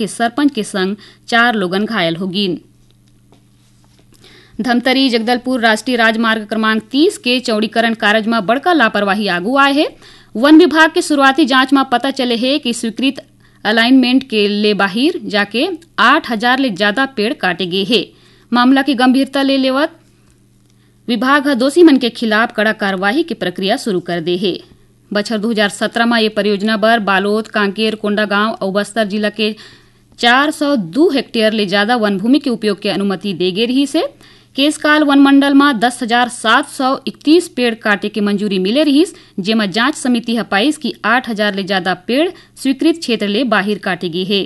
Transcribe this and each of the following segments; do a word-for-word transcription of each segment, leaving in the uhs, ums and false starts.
के सरपंच के संग चार लोगन घायल हो गीन। धमतरी जगदलपुर राष्ट्रीय राजमार्ग क्रमांक तीस के चौड़ीकरण कारज म बड़का लापरवाही आगू आए हे। वन विभाग के शुरुआती जांच म पता चले हे कि स्वीकृत अलाइनमेंट के ले बाहिर जाके आठ हजार ले ज्यादा पेड़ काटे गे हे। मामला के गंभीरता ले लेवत विभाग ह दोषी मन के खिलाफ कड़ा कार्रवाई के प्रक्रिया शुरू कर दे हे। बछर दू हजार सत्रह म ये परियोजना बर बालोद, कांकेर, कोंडागांव अउ बस्तर जिला के चार सौ दू हेक्टेयर ले ज्यादा वन भूमि के उपयोग के अनुमति दे गे रिहिस हे। केशकाल वन मंडल म दस हजार सात सौ इकतीस पेड़ काटे के मंजूरी मिले रिहिस, जेमा जांच समिति ह पाइस कि आठ हजार ले ज्यादा पेड़ स्वीकृत क्षेत्र ले बाहिर काटे गे हे।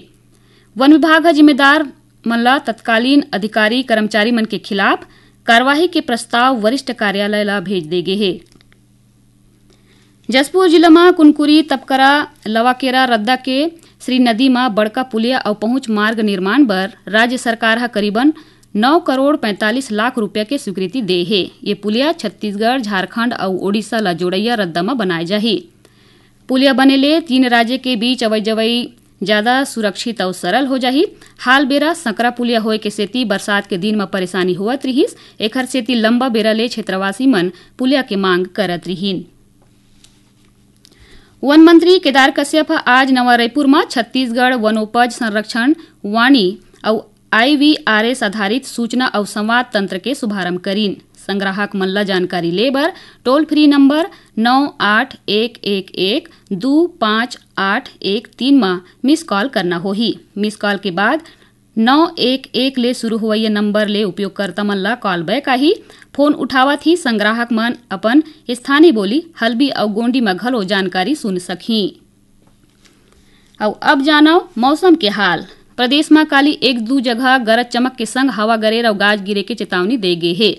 वन विभाग ह जिम्मेदार मन ला तत्कालीन अधिकारी कर्मचारी मन के खिलाफ कार्रवाई के प्रस्ताव वरिष्ठ कार्यालय ला भेज दे गे हे। जशपुर जिला म कुनकुरी, तपकरा, लवाकेरा रद्दा के श्री नदी म बड़का पुलिया अउ पहुंच मार्ग निर्माण बर राज्य सरकार ह करीबन नौ करोड़ पैंतालीस लाख रुपया के स्वीकृति दे हे। ये पुलिया छत्तीसगढ़, झारखंड अउ ओडिशा ला जोड़इया रद्दा म बनाए जाही। पुलिया बने ले तीन राज्य के बीच अवई जवई ज्यादा सुरक्षित अउ सरल हो जाही। हाल बेरा संकरा पुलिया होए के सेती बरसात के दिन म परेशानी होवत रिहिस, एखर सेती लंबा बेरा ले क्षेत्रवासी मन पुलिया के मांग करत रिहिन। वन मंत्री केदार कश्यप ह आज नवा रायपुर म छत्तीसगढ़ वनोपज संरक्षण वाणी अउ आईवीआरएस आधारित सूचना अउ संवाद तंत्र के शुभारंभ करीन। संग्राहक मन ल जानकारी ले बर टोल फ्री नंबर नौ आठ एक एक एक दू पाँच आठ एक तीन म मिस कॉल करना होही। मिस कॉल के बाद नौ एक एक ले शुरू होवइया नंबर ले उपयोगकर्ता मन ल कॉल बैक आही। फोन उठावत ही संग्राहक मन अपन स्थानीय बोली हल्बी अउ गोंडी म घलो जानकारी सुन सकही। अउ अब जानव मौसम के हाल। प्रदेश म काली एक दू जगह गरज चमक के संग हवा गरेर अउ गाज गिरे के चेतावनी दे गे हे।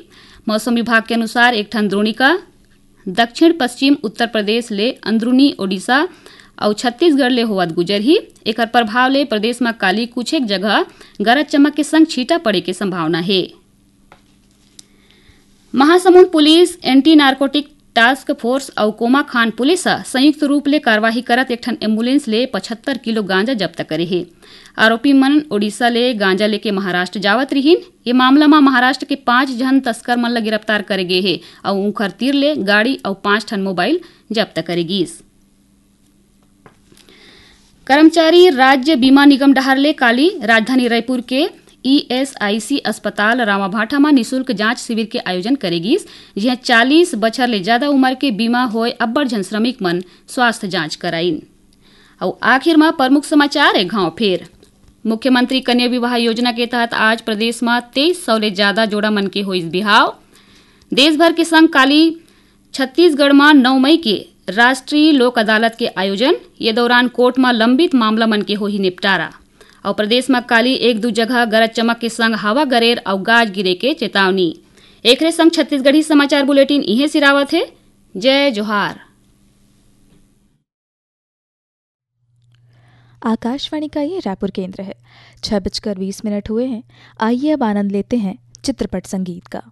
मौसम विभाग के अनुसार एक ठन द्रोणिका दक्षिण पश्चिम उत्तर प्रदेश ले अंदरूनी ओडिशा अउ छत्तीसगढ़ ले होवत गुजरही। एकर प्रभाव ले प्रदेश म काली कुछ एक जगह गरज चमक के संग छींटा पड़े के संभावना हे। Mahasamund police, anti narcotic task force अउ कोमाखान पुलिस ह संयुक्त रूप ले कार्रवाई करत एक ठन एम्बुलेंस ले पचहत्तर किलो गांजा जब्त करे हे। आरोपी मन ओडिशा ले गांजा लेके महाराष्ट्र जावत रिहिन। ये मामला म महाराष्ट्र के पांच झन तस्कर मन ल गिरफ्तार करे गे हे अउ उंखर तीर ले गाड़ी अउ पांच ठन मोबाइल जब्त करे गिस। कर्मचारी राज्य बीमा निगम डहार ले काली राजधानी रायपुर के ईएसआईसी अस्पताल रामाभाटा म निशुल्क जांच शिविर के आयोजन करे गिस, जिहां चालीस बछर ले ज्यादा उमर के बीमा होय अब्बड़ झन श्रमिक मन स्वास्थ्य जांच कराइन। अउ आखिर म प्रमुख समाचार एक घांव फेर। मुख्यमंत्री कन्या विवाह योजना के तहत आज प्रदेश म तेईस सौ ले ज्यादा जोड़ा मन के होइस बिहाव। देश भर के संग काली छत्तीसगढ़ म नौ मई के राष्ट्रीय लोक अदालत के आयोजन। ये दौरान कोर्ट म लंबित मामला मन के होही निपटारा। अउ प्रदेश म काली एक दू जगह गरज चमक के संग हवा गरेर अउ गाज गिरे के चेतावनी। एकरे संग छत्तीसगढ़ी समाचार बुलेटिन इहें सिरावत हे। जय जोहार। आकाशवाणी का ये रायपुर केंद्र है। छह बजकर बीस मिनट हुए हैं। आइए अब आनंद लेते हैं चित्रपट संगीत का।